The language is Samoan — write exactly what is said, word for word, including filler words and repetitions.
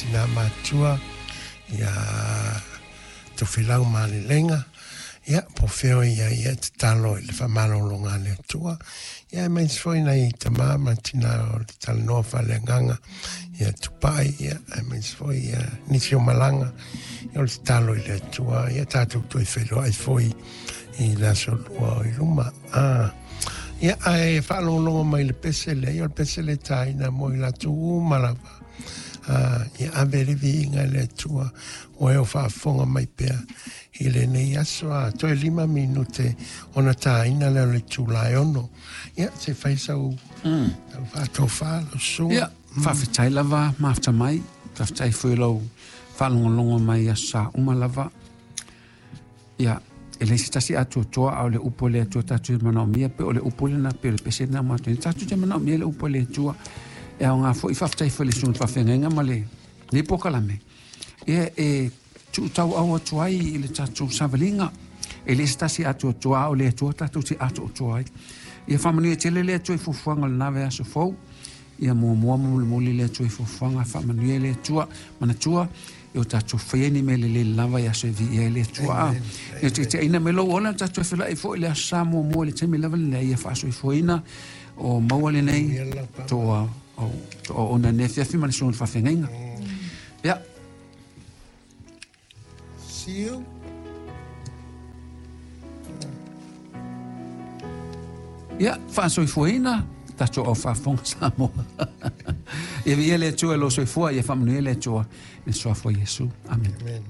tinā matua, ia Tofilau Malilega, ia, po feo ia ia tatalo i le faamalologa a le Atua. Ia aemaise foi nai tamā ma tinā o le talanoa faaleagaga, ia Tupai, ia aemaise foi ia nisi o malaga, ia o le tatalo i le Atua, ia tatou toe feiloai foi i le aso lua o i luma. Ah, ia, ae faalogologo mai le pese lea, ia o le pese le taina mo i latou uma lava. Ah, ia ave le viiga i le Atua, ua e o faafofoga mai pea i lenei aso a toe lima minute ona taina lea o le itula e ono. Ia, se fai sau Mm. sau faatofā lau susuga. Ia, faafetai lava mafta mai, faafetai foi lou faalogologo mai aso sa uma lava. Ia, e leai se tasi atoatoa a o le upu a le Atua tatou te manaomia pe o le upu lena pe o le pese lena ma atu. Tatou te manaomia le upu a le Atua. E aoga foi faafetai foi i le susuga faafeagaiga ma le nei polokalame. Ia e tuutauau atu ai i le tatou savaliga. E le se tasi atoatoa a o le Atua tatou te atoatoa ai. Ia faamanuia tele le Atua i fuafuaga o lena vaiaso fou. Ia muamua ma mulimuli le Atua i fuafuaga, faamanuia le Atua. Manatua, e o tatou faia ni mea lelei lava i aso e viia ai le Atua. Amen. Ia taitaiina mai lou ola, tatou felai foi le aso Sa muamua i le taimi lava lenei, ia faasoifuaina o maua lenei toa o toa ona nei afiafi ma le susuga faafeagaiga. Ia. See you. Ia, faasoifuaina tatou au faafofoga Samoa. Ia viia le Atua i lou soifua, ia faamanuia le Atua i le suafa o Iesu. Amen. Amen.